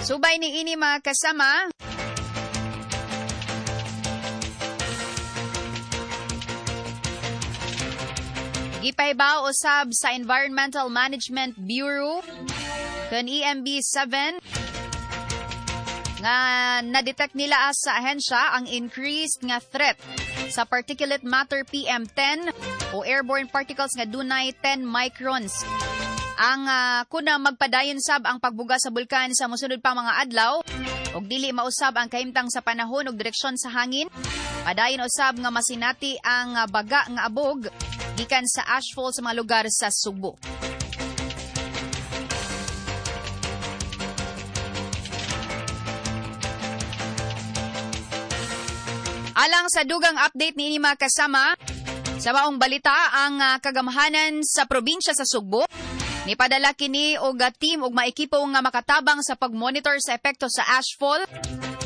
Subay ni ini, mga kasama, gipahibaw usab sa Environmental Management Bureau kun EMB 7 nga na-detect nila sa ahensya ang increased nga threat sa particulate matter PM10 o airborne particles nga dunay 10 microns. Ang kuna magpadayon sab ang pagbuga sa bulkan sa mosunod pa mga adlaw ug dili mausab ang kahimtang sa panahon ug direksyon sa hangin. Padayon usab nga masinati ang baga nga abog gikan sa ashfall sa mga lugar sa Sugbo. Alang sa dugang update ni mga kasama, sa maong balita, ang kagamhanan sa probinsya sa Sugbo nipadala kini og team og maekipo nga makatabang sa pagmonitor sa epekto sa ashfall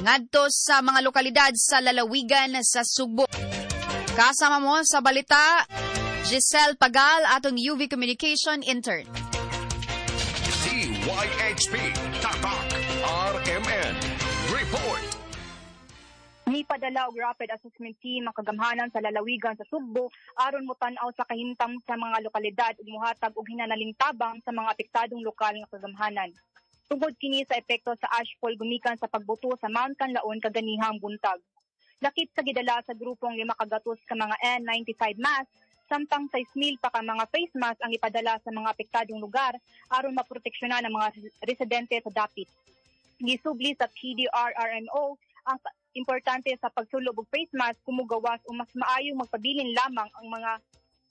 ngadto sa mga lokalidad sa lalawigan sa Sugbo. Kasama mo sa balita, Giselle Pagal, atong UV Communication Intern. DYHP Tatak RMN Report. Nipadala og rapid assessment team ang kagamhanan sa lalawigan sa Sugbo aron motan-aw sa kahimtang sa mga lokalidad ug mohatag og hinanaling tabang sa mga apektadong lokal nga kagamhanan. Tungod kini sa epekto sa ashfall gumikan sa pagbuto sa Mount Kanlaon kaganihang buntag. Lakip sa gidala sa grupong 500 ka mga N95 mask, samtang 6,000 pa ka mga face mask ang ipadala sa mga apektadong lugar aron maproteksyonan ang mga residente sa dapit. Gisubli sa PDRRMO ang importante sa pagsulob og face mask kumugawas o mas maayong magpabilin lamang ang mga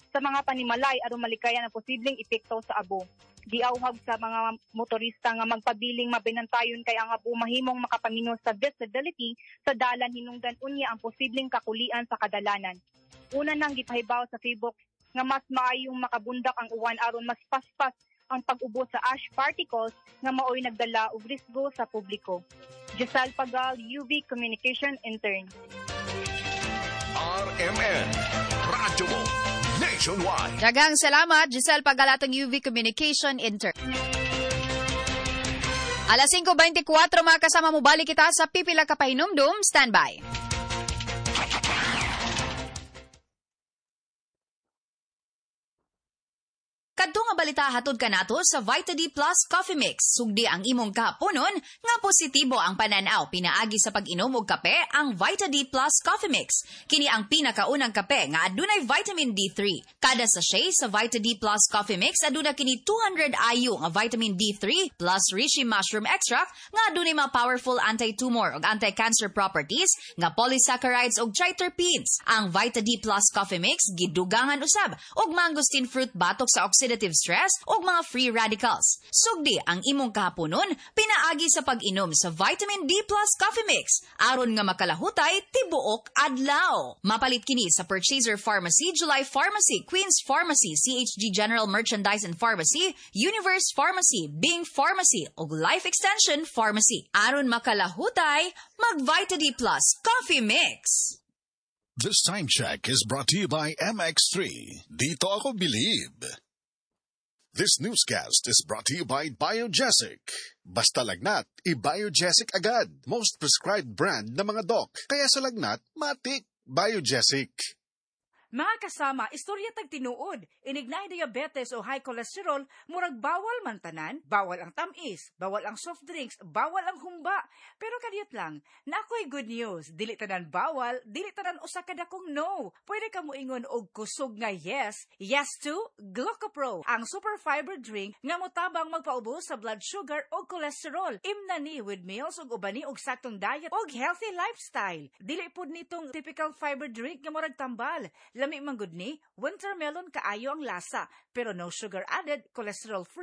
sa mga panimalay aron malikayan ang posibleng epekto sa abo. Giawhag sa mga motorista nga magpabiling mabinantayon kay ang abo mahimong makapamino sa visibility sa dalan hinungdan unya ang posibleng kakulian sa kadalanan. Una nang gipahibaw sa Facebook nga mas maayong makabundak ang uwan aron mas paspas ang pag-ubo sa ash particles nga maoy nagdala og risgo sa publiko. Giselle Pagal, UV Communication Intern. RMN Radyo Mo Nationwide. Daghang salamat, Giselle Pagal, atong UV Communication Intern. Alas 5:24, mga kasama, mo balik kita sa pipila ka pahinumdum. Standby. Kadto nga balita hatod kanato sa Vita D Plus Coffee Mix. Sugdi ang imong kahaponon nga positibo ang pananaw pinaagi sa pag-inom og kape ang Vita D Plus Coffee Mix. Kini ang pinakaunang kape nga adunay vitamin D3. Kada sachet sa Vita D Plus Coffee Mix aduna kini 200 IU nga vitamin D3 plus reishi mushroom extract nga adunay mga powerful anti-tumor ug anti-cancer properties nga polysaccharides ug triterpenes. Ang Vita D Plus Coffee Mix gidugangan usab og mangosteen fruit batok sa oxidative stress ug mga free radicals. Sugdi ang imong kahaponon pinaagi sa pag-inom sa Vitamin D Plus Coffee Mix aron nga makalahutay tibuok adlaw. Mapalit kini sa Purchaser Pharmacy, July Pharmacy, Queens Pharmacy, CHG General Merchandise and Pharmacy, Universe Pharmacy, Bing Pharmacy ug Life Extension Pharmacy. Aron makalahutay, mag Vita D Plus Coffee Mix. This time check is brought to you by MX3. Dito ako believe. This newscast is brought to you by Biogesic. Basta lagnat, i-Biogesic agad. Most prescribed brand ng mga doc. Kaya sa lagnat, matik, Biogesic. Mga kasama, istorya tag tinuod. Inig naay diabetes o high cholesterol, murag bawal man tanan, bawal ang tamis, bawal ang soft drinks, bawal ang humba. Pero kadiyot lang, na ako'y good news. Dili tanan bawal, dili tanan usa ka dakong no. Pwede ka moingon og kusog nga yes. Yes to Glucopro, ang super fiber drink nga motabang magpaubos sa blood sugar o cholesterol. Imna ni with meals ug ubani og saktong diet og healthy lifestyle. Dili pud nitong typical fiber drink nga murag tambal. Lami man gud ni, winter melon kaayo ang lasa, pero no sugar added, cholesterol free.